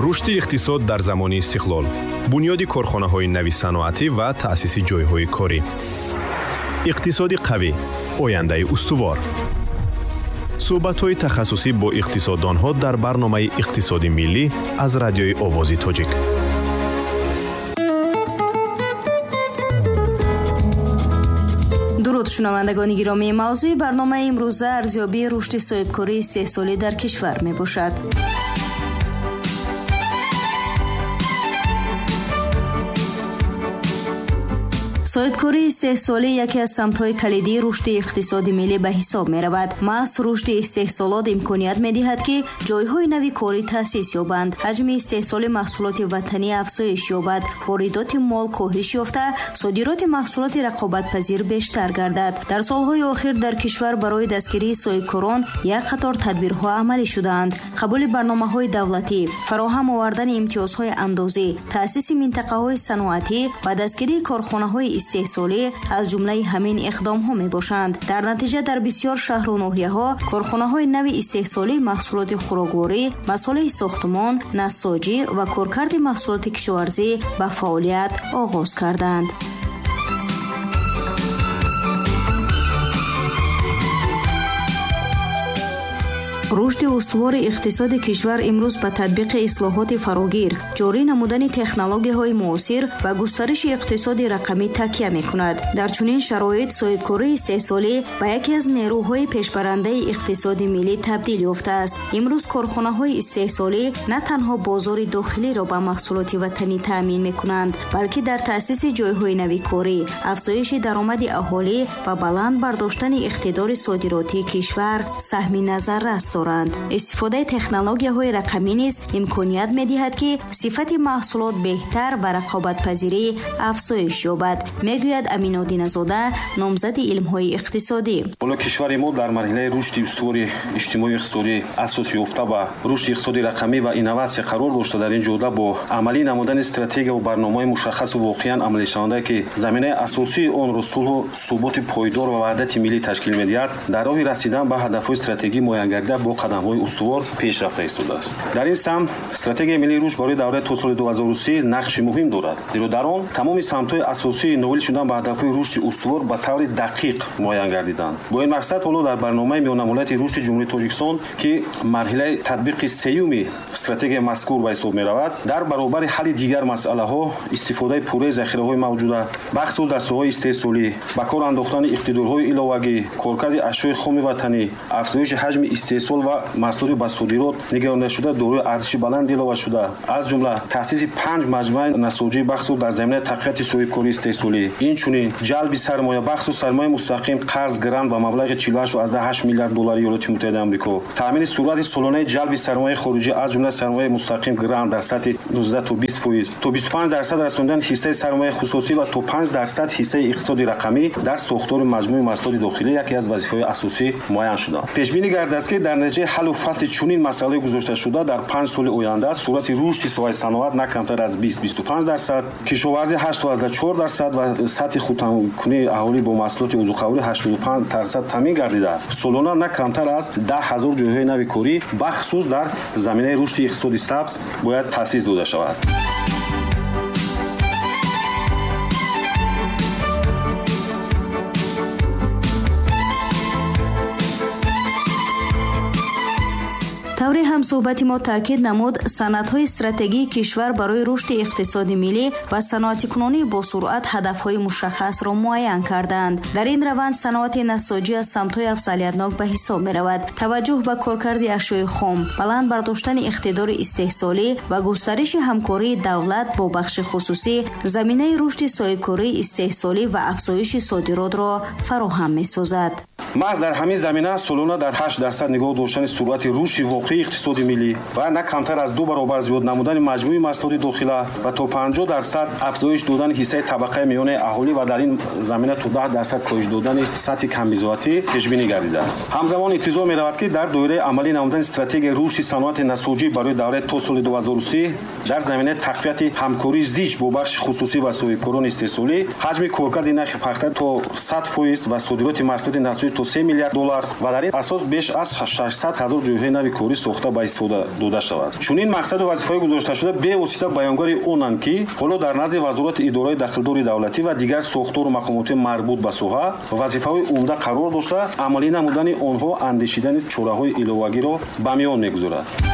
Рушди иқтисод дар замони истиқлол, бунёди корхонаҳои нави саноатӣ ва таъсиси ҷойҳои корӣ. Иқтисоди қавӣ, ояндаи устувор. Суҳбатҳои тахассусӣ бо иқтисоддонҳо дар барномаи Иқтисоди миллӣ аз Радиои Овози Тоҷик. Дуруд, шунавандагони гиромӣ. Мавзӯи барномаи имрӯза арзёбии рушди соҳибкории истеҳсолӣ дар кишвар мебошад. Соҳибкории истеҳсолӣ яке аз самтҳои калидии рушди иқтисоди миллӣ ба ҳисоб меравад. Маҳз рушди истеҳсолот имконият медиҳад, ки ҷойҳои нави корӣ таъсис ёбанд, ҳаҷми истеҳсоли маҳсулоти ватанӣ афзоиш ёбад, воридоти мол коҳиш ёфта, содироти маҳсулоти рақобатпазир бештар гардад. Дар солҳои охир дар кишвар барои дастгирии соҳибкорон як қатор тадбирҳо амалӣ шудаанд. Қабули барномаҳои давлатӣ, фароҳам овардани имтиёзҳои андозӣ, таъсиси минтақаҳои саноатӣ ва дастгирии корхонаҳои истеҳсолӣ аз ҷумлаи ҳамин иқдомҳо мебошанд. Дар натиҷа дар бисёр шаҳру ноҳияҳо корхонаҳои нави истеҳсолии маҳсулоти хӯрокворӣ, масолеҳи сохтмон, насоҷӣ ва коркарди маҳсулоти кишоварзӣ ба фаъолият оғоз карданд. Рушди устувори иқтисоди кишвар имрӯз ба татбиқи ислоҳоти фарогир, ҷорӣ намудани технологияҳои муосир ва густариши иқтисоди рақамӣ такя мекунад. Дар чунин шароит соҳибкории истеҳсолӣ ба яке аз нерӯҳои пешбарандаи иқтисоди миллӣ табдил ёфтааст. Имрӯз корхонаҳои истеҳсолӣ на танҳо бозори дохилиро ба маҳсулоти ватанӣ таъмин мекунанд, балки дар таъсиси ҷойҳои нави корӣ, афзоиши даромади аҳолӣ ва баланд бардоштани иқтидори содиротии кишвар саҳми назаррас доранд. Истифодаи технологияҳои рақамӣ низ имконият медиҳад, ки сифати маҳсулот беҳтар ва рақобатпазирӣ афзоиш ёбад, мегӯяд Аминодиназода, номзади илмҳои иқтисодӣ. Ҳоло кишвари мо дар марҳилаи рушди устувори иҷтимоию иқтисодӣ асос ёфта ба рушди иқтисоди рақамӣ ва инноватсия қарор дошта, дар ин ҷода бо амалӣ намудани стратегия ва барномаҳои мушаххасу воқеан амалишаванда, ки заминаи асосии онро сулҳу суботи пойдор ва ваҳдати миллӣ ташкил медиҳад, дар роҳи расидан ба ҳадафҳои стратегӣ муайянгардида бо қадамҳои устувор пеш рафта истодааст. Дар ин самт стратегияи миллии рушд барои давраи то соли 2030 нақши муҳим дорад, зеро дар он тамоми самтҳои асосии ноил шудан ба ҳадафҳои рушди устувор ба таври дақиқ муайян гардиданд. Бо ин мақсад ҳоло дар барномаи миёнамуҳлати рушди Ҷумҳурии Тоҷикистон, ки марҳилаи татбиқи сеюми стратегияи мазкур ба ҳисоб меравад, дар баробари ҳалли дигар масъалаҳо истифодаи пурраи захираҳои мавҷуда, бахусус дар соҳаҳои истеҳсолӣ, ба кор андохтани иқтидорҳои иловагӣ, коркарди ашёи хоми ватанӣ, афзоиши ҳаҷми истеҳсол ва маҳсулоти ба содирот нигарондашуда дорои арзиши баланд иловашуда, аз ҷумла таъсиси 5 маҷмӯаи насоҷӣ бахусус дар заминаи тақвияти соҳибкории истеҳсолӣ, инчунин ҷалби сармоя бахусус сармояи мустақим, қарз, грант ба маблағи 48,8 миллиард доллари Иёлоти Муттаҳидаи Амрико, таъмини суръати солонаи ҷалби сармояи хориҷӣ аз ҷумла сармояи мустақим, грант дар сатҳи 19 то 20%, то 25% расондани ҳиссаи сармояи хусусӣ ва то 5% ҳиссаи иқтисоди рақамӣ дар сохтори маҷмӯи маҳсулоти дохилӣ яке аз вазифаҳои асосӣ муайян шуданд. Пешбинӣ гардааст, ки дар натиҷаи ҳаллу фасли чунин масъалаи гузошташуда дар 5 соли оянда суръати рушди соҳаи саноат на камтар аз 20-25%, кишоварзӣ 8,4% ва сатҳи худтаъминкунии аҳолӣ бо маҳсулоти озуқаворӣ 85% таъмин гардида, солона на камтар аз 10 ҳазор ҷойҳои нави корӣ бахусус дар заминаи рушди иқтисоди сабз бояд таъсис дода шавад. Таври ҳамсӯҳбати мо таъкид намуд, санадҳои стратегии кишвар барои рушди иқтисоди миллӣ ва саноатикунонии босуръат ҳадафҳои мушаххасро муайян карданд. Дар ин раванд саноати насоҷӣ аз самтҳои афзалиятнок ба ҳисоб меравад. Таваҷҷӯҳ ба коркарди ашёи хом, баланд бардоштани иқтидори истеҳсолӣ ва густариши ҳамкории давлат бо бахши хусусӣ заминаи рушди соҳибкории истеҳсолӣ ва афзоиши содиротро фароҳам месозад. Маҳз дар ҳамин замина солона дар 8% нигоҳ доштани суръати рушди воқеии иқтисоди миллӣ ва на камтар аз 2 баробар зиёд намудани маҷмӯи маҳсулоти дохила ва то 50% афзоиш додани ҳиссаи табақаи миёнаи аҳолӣ ва дар ин замина то 10% коҳиш додани сатҳи камбизоатӣ пешбинӣ гардидааст. Ҳамзамон интизор меравад, ки дар доираи амалӣ намудани стратегияи рушди саноати насоҷӣ барои давраи то соли 2030 дар заминаи тақвияти ҳамкории зич бо бахши хусусӣ ва соҳибкорони истеҳсолӣ ҳаҷми коркарди нархи пахта то 100% ва содироти маҳсулоти насоҷӣ то 3 миллиард доллар ва дар ин асос беш аз 600 ҳазор ҷойҳои нави корӣ сохта ба истифода дода шавад. Чунин мақсаду вазифаҳои гузошташуда бевосита баёнгари онанд, ки ҳоло дар назди вазорати идораи дахлдори давлатӣ ва дигар сохтору мақомоти марбут ба соҳа вазифаҳои умда қарор дошта, амалӣ намудани онҳо андешидани чораҳои иловагиро ба миён мегузорад.